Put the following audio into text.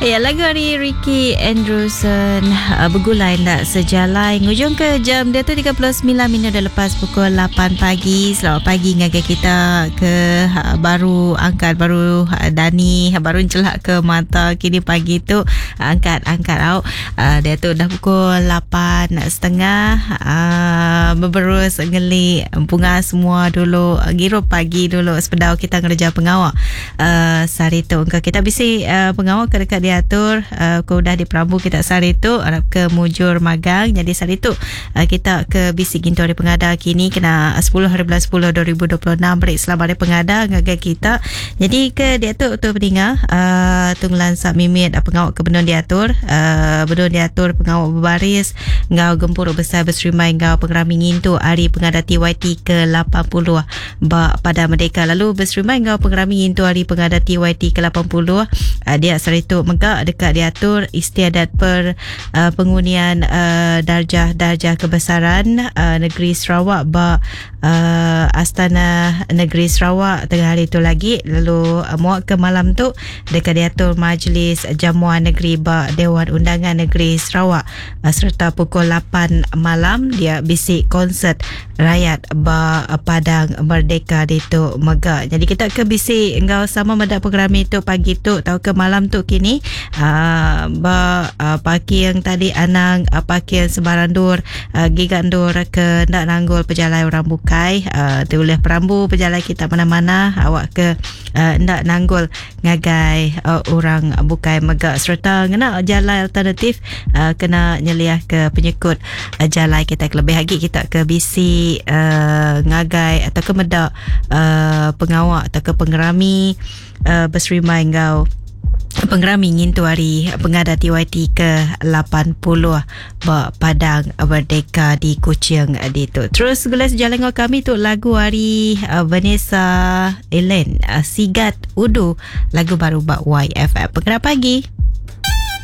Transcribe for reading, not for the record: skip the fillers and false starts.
Ya, lagu ari Ricky Andrewson begulai enda sejalai ngujung ke jam dia tu 39 minit dah lepas pukul 8 pagi. Selamat pagi ngagai kita ke baru angkat baru dani baru ncelak ke mata kini pagi tu angkat angkat au. Dia tu dah pukul 8 setengah beberus ngeli empunga semua dulu ngirup pagi dulu sebedau kita ngereja pengawa uh, sehari tu. Engka kita bisi uh, pengawa ke deka diatur uh, ke udah diperambu kita sehari tu arap ke mujur magang. Jadi sehari tu uh, kita ke bisi gintu hari pengada kini kena 10 hari bulan 10 2026 beri selamat hari pengada ngagai kita. Jadi ke diatu tu peninga uh, tu ngelansa mimit uh, pengawa ke benung diatur uh, benung diatur pengawa berbaris enggau gempuru besai beserimbai enggau pengerami ngintu hari pengada TYT ke 80 ba Padang Merdeka lalu beserimbai enggau pengerami ngintu Hari Pengada TYT ke-80 ah, dia sehari tu mega deka diatur istiadat per ah, pengunian ah, darjah-darjah kebesaran negeri Sarawak ba Astana Negeri Sarawak tengah hari tu lagi lalu muak ke malam tu deka diatur Majlis Jamuan Negeri ba Dewan Undangan Negeri Sarawak sereta pukul 8 malam dia bisi konsert rayat ba Padang Merdeka ditu mega. Jadi kita ke bisi enggau sama meda pengerami tu pagi tu tauka malam tu kini uh, ba uh, parking tadi anang uh, parking sembarang endur uh, giga endur ke enda nanggul pejalai orang bukai uh, tu ulih perambu pejalai kita mana-mana awak ke uh, enda nanggul ngagai uh, orang bukai mega sereta ngena jalai alternatif uh, kena nyeliah ke penyekut uh, jalai kita kelebih agi kita ke bisi uh, ngagai atau ke meda uh, pengawa atau ke pengerami uh, beserimbai enggau pengerami ngintu hari pengada TYT ke 80 ba Padang Merdeka di Kuching ditu. Terus gulai sejalan enggau kami tu lagu hari uh, Vanessa Ellen uh, Sigat Udu lagu baru ba YFM. Pengerap pagi.